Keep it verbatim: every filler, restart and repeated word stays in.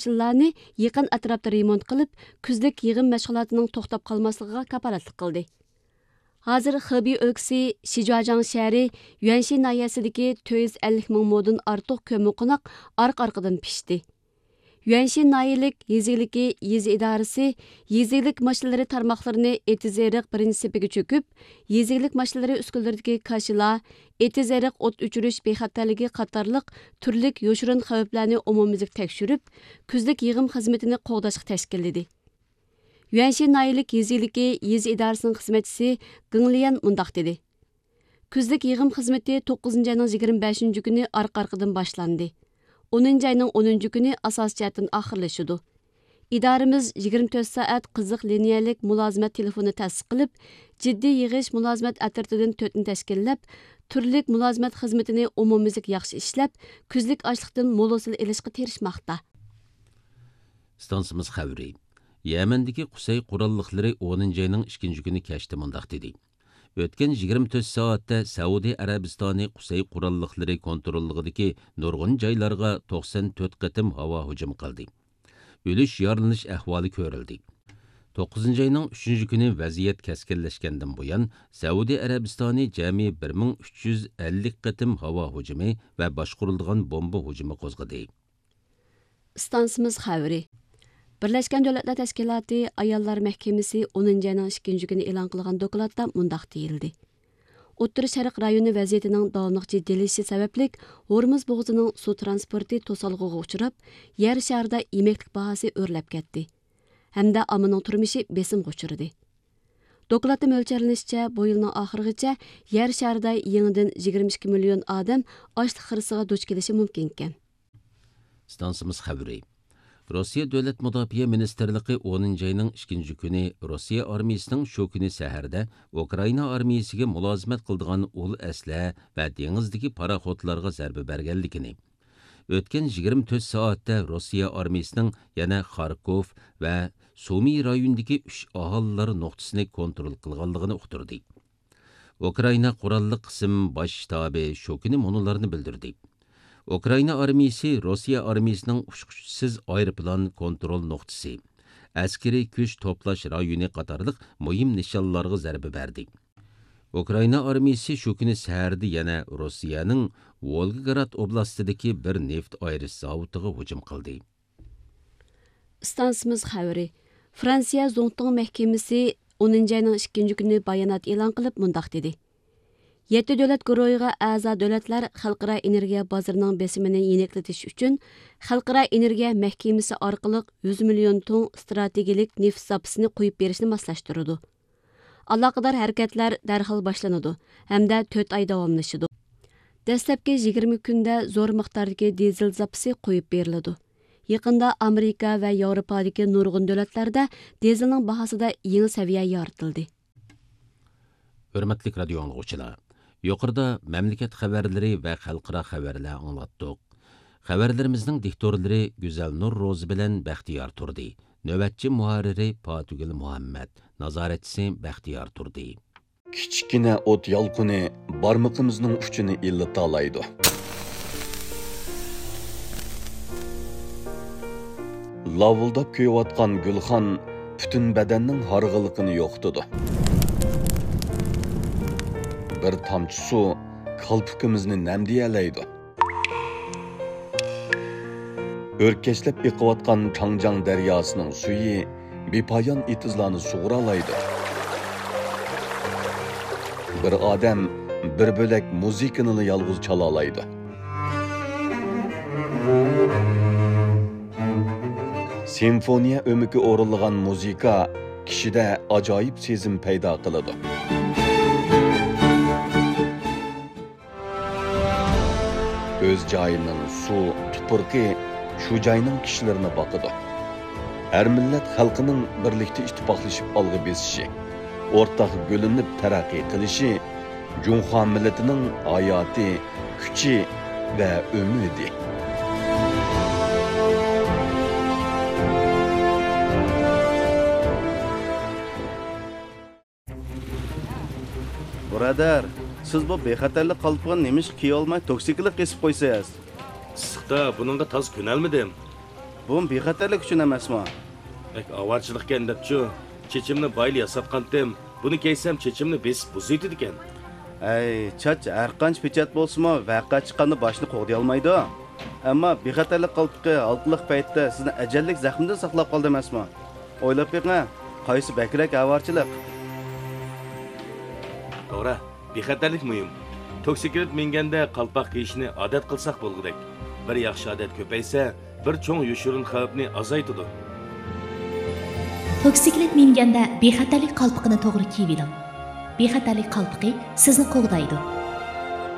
ماشىنىلارنى يېقىن ئەتراپتا رېمونت قىلىپ، كۈزلۈك يىغىم مەشغۇلاتىنىڭ توختاپ قالماسلىقىغا كاپالەتلىك قىلدى. ھازىر خېبېي ئۆلكىسى شىجۇاجياڭ شەھىرى يۈەنشى ناھىيەسىدىكى تۆت يۈز ئەللىك مىڭ مودىن ئارتۇق كۆممىقوناق ئارقا-ئارقىدىن پىشتى. يۈەنشى ناھىيەلىك يېزا ئىگىلىكى يېزا ئىدارىسى يېزا ئىگىلىك ماشىنىلىرى تارماقلىرىنى ئېتىز-ئېرىق بىرىنچى سېپىگە چۆكۈپ، يېزا ئىگىلىك ماشىنىلىرى ئۈسكۈنىلىرىدىكى كاشىلا، ئېتىز-ئېرىق ئوت ئۆچۈرۈش بىخەتەرلىكى قاتارلىق تۈرلۈك يوشۇرۇن خەۋپلەرنى ئومۇميۈزلۈك تەكشۈرۈپ، كۈزلۈك يىغىم خىزمىتىنى قوغداشقا تەشكىللىدى. يۈەنشى ناھىيەلىك يېزا ئىگىلىكى يېزا ئىدارىسىنىڭ خىزمەتچىسى گېڭ ليەن مۇنداق دېدى: كۈزلۈك يىغىم خىزمىتى توققۇزىنچى ئاينىڭ يىگىرمە بەشىنچى كۈنى ئارقا-ئارقىدىن باشلاندى. ئونىنچى ئاينىڭ ئونىنچى كۈنى ئاساسىي جەھەتتىن ئاخىرلىشىدۇ. ئىدارىمىز يىگىرمە تۆت سائەت قىزىق لىنىيەلىك مۇلازىمەت تېلېفونى تەسىس قىلىپ، جىددىي يىغىش مۇلازىمەت ئەترىتىدىن تۆتنى تەشكىللەپ، تۈرلۈك مۇلازىمەت خىزمىتىنى ئومۇميۈزلۈك ياخشى ئىشلەپ، كۈزلۈك ئاشلىقتىن مول ھوسۇل ئېلىشقا تىرىشماقتا. ئىستانسىمىز خەۋىرى. يەمەندىكى قۇسەي قوراللىقلىرى ئونىنچى ئاينىڭ ئىككىنچى كۈنى كەچتە مۇنداق دېدى: ئۆتكەن يىگىرمە تۆت سائەتتە سەئۇدى ئەرەبىستانى قۇسەي قوراللىقلىرى كونتروللۇقىدىكى نۇرغۇن جايلارغا توقسان تۆت قېتىم ھاۋا ھۇجۇمى قىلدى. ئۆلۈش، يارىلىنىش ئەھۋالى كۆرۈلدى. توققۇزىنچى ئاينىڭ ئۈچىنچى كۈنى ۋەزىيەت كەسكىنلەشكەندىن بۇيان، سەئۇدى ئەرەبىستانى جەمئىي بىر مىڭ ئۈچ يۈز ئەللىك قېتىم ھاۋا ھۇجۇمى ۋە باشقۇرۇلىدىغان بومبا ھۇجۇمى قوزغىدى. ئىستانسىمىز خەۋىرى. بىرلەشكەن دۆلەتلەر تەشكىلاتى ئاياللار مەھكىمىسى ئونىنچى ئاينىڭ ئىككىنچى كۈنى ئېلان قىلغان دوكلاتتا مۇنداق دېيىلدى: ئوتتۇرا شەرق رايونى ۋەزىيىتىنىڭ داۋاملىق جىددىيلىشىشى سەۋەبلىك، ھورمۇز بوغۇزىنىڭ سۇ ترانسپورتى توسالغۇغا ئۇچراپ، يەر شارىدا يېمەكلىك باھاسى ئۆرلەپ كەتتى ھەمدە ئاممىنىڭ تۇرمۇشى بېسىمغا ئۇچرىدى. دوكلاتتا مۆلچەرلىنىشىچە، بۇ يىلنىڭ ئاخىرىغىچە يەر شارىدا يېڭىدىن يىگىرمە ئىككى مىليون ئادەم ئاچلىق خىرىسىغا دۇچ كېلىشى مۇمكىنكەن. ئىستانسىمىز خەۋىرى. روسىيە دۆلەت مۇداپىئە مىنىستىرلىقى ئونىنچى ئاينىڭ ئىككىنچى كۈنى روسىيە ئارمىيىسىنىڭ شۇ كۈنى سەھەردە ئۇكرائىنا ئارمىيىسىگە مۇلازىمەت قىلىدىغان ئۇل ئەسلىھە ۋە دېڭىزدىكى پاراخوتلارغا زەربە بەرگەنلىكىنى، ئۆتكەن يىگىرمە تۆت سائەتتە روسىيە ئارمىيىسىنىڭ يەنە خاركوف ۋە سۇمى رايونىدىكى ئۈچ ئاھالىلەر نۇقتىسىنى كونترول قىلغانلىقىنى ئۇقتۇردى. ئۇكرائىنا قوراللىق قىسىم باش شتابى شۇ كۈنى مۇنۇلارنى بىلدۈردى: ئۇكرائىنا ئارمىيىسى روسىيە ئارمىيىسىنىڭ ئۇچقۇچىسىز ئايروپىلان كونترول نۇقتىسى، ئەسكىرىي كۈچ توپلاش رايونى قاتارلىق مۇھىم نىشانلارغا زەربە بەردى. ئۇكرائىنا ئارمىيىسى شۇ كۈنى سەھەردە يەنە روسىيەنىڭ ۋولگىگراد ئوبلاستىدىكى بىر نېفىت ئايرىش زاۋۇتىغا ھۇجۇم قىلدى. ئىستانسىمىز خەۋىرى. فرانسىيە زۇڭتۇڭ مەھكىمىسى ئونىنچى ئاينىڭ ئىككىنچى كۈنى بايانات ئېلان قىلىپ مۇنداق دېدى: يەتتە دۆلەت گۇرۇھىغا ئەزا دۆلەتلەر خەلقئارا ئېنېرگىيە بازىرىنىڭ بېسىمىنى يېنىكلىتىش ئۈچۈن خەلقئارا ئېنېرگىيە مەھكىمىسى ئارقىلىق يۈز مىليون تۇڭ ئىستراتېگىيەلىك نېفىت زاپىسىنى قويۇپ بېرىشنى ماسلاشتۇرىدۇ. ئالاقىدار ھەرىكەتلەر دەرھال باشلىنىدۇ ھەمدە تۆت ئاي داۋاملىشىدۇ. دەسلەپكى يىگىرمە كۈندە زور مىقداردىكى دىزېل زاپىسى قويۇپ بېرىلىدۇ. يېقىندا ئامېرىكا ۋە ياۋروپادىكى نۇرغۇن دۆلەتلەردە دىزېلنىڭ باھاسىدا يېڭى سەۋىيە يارىتىلدى. ھۆرمەتلىك رادىيو ئاڭلىغۇچىلار، يۇقىرىدا مەملىكەت خەۋەرلىرى ۋە خەلقئارا خەۋەرلەر ئاڭلاتتۇق. خەۋەرلىرىمىزنىڭ دىكتورلىرى گۈزەلنۇر روزى بىلەن بەختىيار تۇردى. نۆۋەتچى مۇھەررىرى پاتىگۈل مۇھەممەد، نازارەتچىسى بەختىيار تۇردى. كىچىككىنە ئوت يالقۇنى بارمىقىمىزنىڭ ئۇچىنى ئىللىتالايدۇ. لاۋۇلداپ كۆيۈۋاتقان گۈلخان پۈتۈن بەدەننىڭ ھارغىنلىقىنى يوقىتىدۇ. بىر تامچە سۇ كالپۇكىمىزنى نەمدىيەلەيدۇ. ئۆركەشلەپ ئېقىۋاتقان چاڭجياڭ دەرياسىنىڭ سۈيى بىپايان ئېتىزلارنى سۇغۇرالايدۇ. بىر ئادەم بىر بۆلەك مۇزىكىنىلا يالغۇز چالالايدۇ. سىمفونىيە ئۆمىكى ئورۇنلىغان مۇزىكا كىشىدە ئاجايىپ سېزىم پەيدا قىلىدۇ. ئۆز جايىنىڭ سۇ، تۇپرىقى شۇ جاينىڭ كىشىلىرىنى باقىدۇ. ھەر مىللەت خەلقىنىڭ بىرلىكتە ئىتتىپاقلىشىپ ئالغا بېسىشى، ئورتاق گۈللىنىپ تەرەققىي قىلىشى جۇڭخۇا مىللىتىنىڭ ھاياتى، كۈچى ۋە ئۈمىدى. بۇرادەر، سىز بۇ بىخەتەرلىك قالپىقىنى نېمىشقا كىيىۋالماي توكسىكلىق كېسىپ قويىسىز؟ ئىسسىقتا بۇنىڭغا تازا كۆنەلمىدىم. بۇمۇ بىخەتەرلىك ئۈچۈن ئەمەسمۇ؟ بەك ئاۋارىچىلىقكەن دەپچۇ، چېچىمنى بايىلى ياساتقانتىم. بۇنى كىيسەم چېچىمنى بېسىپ بۇزۇۋېتىدىكەن. ھەي، چاچ ھەرقانچە پېچەت بولسىمۇ، ۋەقە چىققاندا باشنى قوغدىيالمايدۇ. ئەمما بىخەتەرلىك قالپىقى ھالقىلىق پەيتتە سىزنى ئەجەللىك زەخمىدىن ساقلاپ قالدى ئەمەسمۇ؟ ئويلاپ بېقىڭ، قايسى بەكرەك ئاۋارىچىلىق؟ توغرا، بىخەتەرلىك مۇھىم. توكسىكلىت مىنگەندە قالپاق كىيىشنى ئادەت قىلساق بولغۇدەك. بىر ياخشى ئادەت كۆپەيسە، بىر چوڭ يوشۇرۇن خەۋپنى ئازايتىدۇ. توكسىكلىت مىنگەندە بىخەتەرلىك قالپىقىنى توغرا كىيىۋېلىڭ. بىخەتەرلىك قالپىقى سىزنى قوغدايدۇ.